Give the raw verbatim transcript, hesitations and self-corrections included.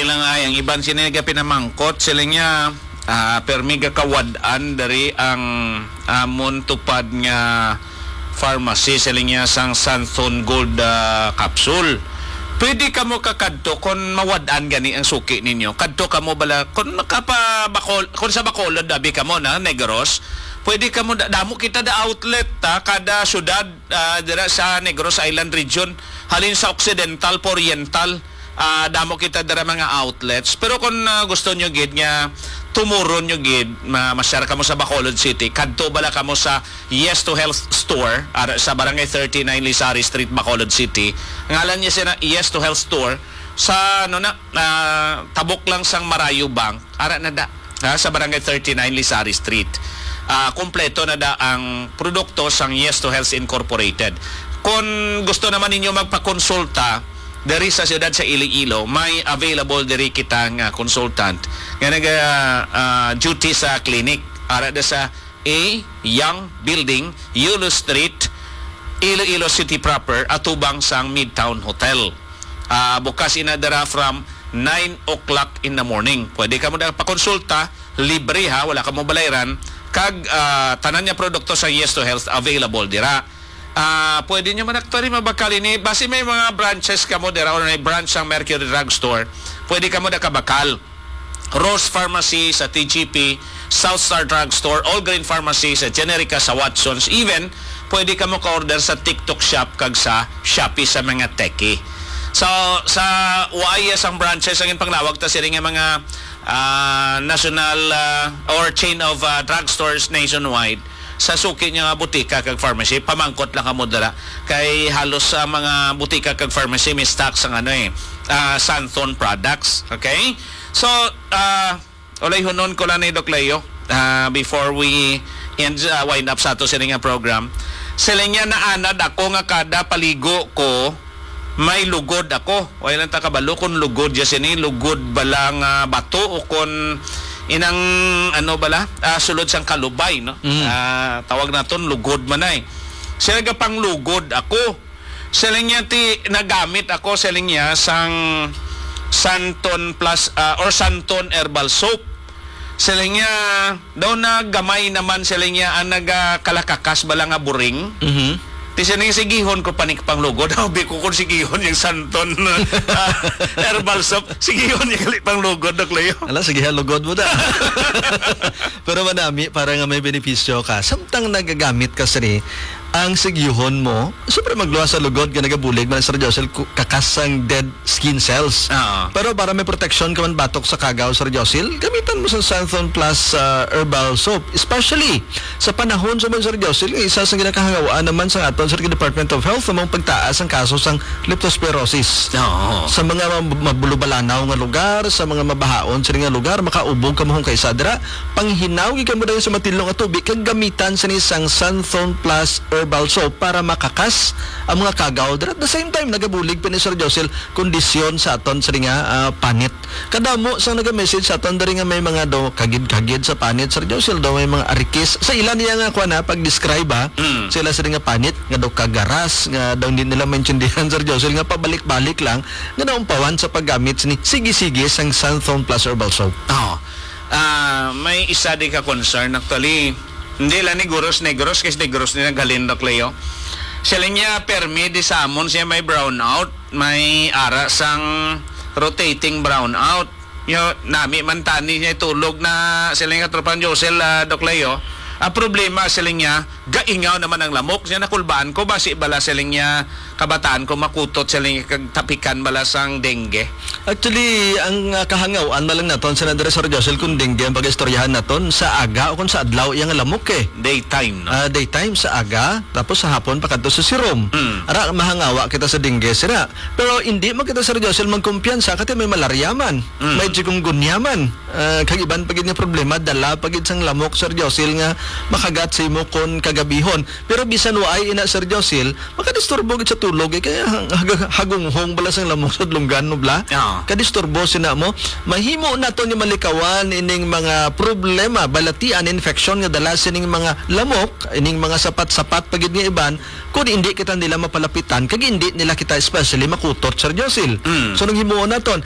Lang ay ang iban sini nagapinamangkot, sila niya, ah, permi gakawad-an diri ang amon tupad nga pharmacy, sila niya sang Santon Gold, ah, capsule. Pwede kamo kakadto kung mawad-an gani ang suki ninyo. Kadto kamo bala, kung makapabakol, kung sa Bacolod, abi kamo na, Negros, pwede kamo, da-, damo kita da outlet, ta, kada syudad, ah, dira sa Negros Island Region, halin sa Occidental pa Oriental, ah, damo kita dira mga outlets. Pero kung, ah, gusto nyo gid nga tumuron nyo gid, ma-, masyar kamo sa Bacolod City, kadto bala kamo sa Yes to Health Store, ara sa Barangay thirty-nine Lisari Street, Bacolod City. Ngalan niya sina Yes to Health Store. Sa, ano na, ah, tabok lang sang Marayo Bank. Ara na da, ha, sa Barangay thirty-nine Lisari Street. Ah, kompleto na da ang produkto sang Yes to Health Incorporated. Kung gusto naman ninyo magpakonsulta diri sa siyudad sa Iloilo, may available diri kita nga consultant nga naga, ah, duty sa clinic. Ara da sa A Young Building, Yulo Street, Iloilo City proper, atubang sang Midtown Hotel. Ah, bukas ina dira from nine o'clock in the morning. Pwede kamo na pakonsulta, libre ha, wala kamo balayran. Kag, ah, tanan nga produkto sa Yes to Health available dira. Ah, pwede nyo man actually mabakal ini. Basi may mga branches kamo dira or may branch sang Mercury Drugstore. Pwede kamo nakabakal. Rose Pharmacy sa T G P, South Star Drugstore, All Green Pharmacy sa Generica sa Watsons. Even, pwede kamo ka-order sa TikTok Shop kag sa Shopee sa mga techie. So, sa wais ang branches, ang panglawag ta sila nga mga, ah, national, ah, or chain of, ah, drugstores nationwide. Sa suki niya nga butika kag pharmacy, pamangkot lang kamo dira. Kay halos sa mga butika kag pharmacy, may stock sang ano eh, ah, Santon products. Okay? So, ah, ulayhonon ko lang ni Doc Leo, ah, before we end, ah, wind up sa ato sini nga program. Sila niya naanad ako nga kada paligo ko, may lugod ako. Wala lang ta kabalo kung lugod ya sini, lugod bala nga bato o kung inang, ano bala, ah, sulod sang kalubay, no? Mm. Ah, tawag naton lugod man ay. Sila gapanglugod ako. Siling niya, ti, nagamit ako, siling niya, sang Santon Plus, ah, or Santon Herbal Soap. Siling niya, daw na gamay naman, siling niya, ang nagakalakakas bala nga buring. Mhm. Ti siling, sigihon ko pa ni panglugod. Sabi ko, kung sigihon yung Santon, ah, Herbal Soap, sigihon yung gali panglugod, Doc Leo. Ala, sige, ha, lugod mo da. Pero manami, para nga may benepisyo ka. Samtang nagagamit ka sini, ang sigihon mo, siyempre, magluwas sa lugod nga nagabulig man, Sir Josel, ku-, kakas sang dead skin cells. Oo. Pero para may protection ka man batok sa kagaw, Sir Josel, gamitan mo sa Santhon Plus, ah, Herbal Soap. Especially sa panahon sa man, Sir Josel, isa sa ginakahangawaan naman sa aton sa Department of Health, sa mga pagtaas ang kaso sang leptospirosis. Oo. Sa mga mab-, mabulubalanaw nga lugar, sa mga mabahaon sila nga lugar, makaubog kamo kung kaisa dira. Panghinaw gid kamo dayon sa matilong nga tubig kag gamitan sini sang Santhon Plus Herbal Soap para makakas ang mga kagaw dira. At the same time, nagabulig pa ni Sir Josel kondisyon sa aton sini nga, ah, panit. Kadamo sang naga-message sa aton diri nga may mga daw kagid-kagid sa panit, Sir Josel, daw may mga arikis. Sa ila niya nga kuan, ha, pag-describe, ha, Mm. sa ila sini nga panit, nga daw kagaras, nga daw hindi nila maintindihan, Sir Josel, nga pabalik-balik lang, nga naumpawan sa paggamit sini sige-sige sang Santhon Plus Herbal Soap. Oo. Ah, may isa di ka concern, actually. Hindi lang ni Guros Negros, kay Negros ni naghalin, Doc Leo. Siling niya, permi di sa amon siya may brownout, may ara sang rotating brownout. Yo, nami man tani niya tulog na siling nga tropang Josel, ah, Doc Leo. Ang problema, siling niya, gaingaw naman ang lamok. Siya nakulbaan ko, basi bala siling niya, kabataan ko makutot siling kag tapikan bala sang dengue. Actually, ang, ah, kahangaw-an na lang naton, Senator Sir Josel, kung dengue ang pag-istoryahan naton, sa aga o kung sa adlaw, iyang lamok eh. Daytime, no? Ah, daytime, sa aga, tapos sa hapon, pakadto sa sirom. Mm. Ara, mahangawa kita sa dengue, sira. Pero hindi man kita, Sir Josel, magkumpiyansa, kasi may malarya man, Mm. may chikungunya man. Ah, kag iban pa gid nga problema, dala pa gid sang lamok, Sir Josel, nga makagat sa imo kon kagabihon. Pero bisan waay ina, Sir Josil, makadisturbo gid sa tulog, eh, kaya hag-, hag-, hagunghong bala sang lamok sa dulunggan mo, bla? Oo. Kadisturbo sina mo. Mahimo naton nga malikawan ining mga problema, balatian, infection nga dala sining mga lamok, ining mga sapat-sapat pa gid nga iban, kung hindi kita nila mapalapitan, kag hindi nila kita especially makutot, Sir Josil. Mm. So, nung himuon naton,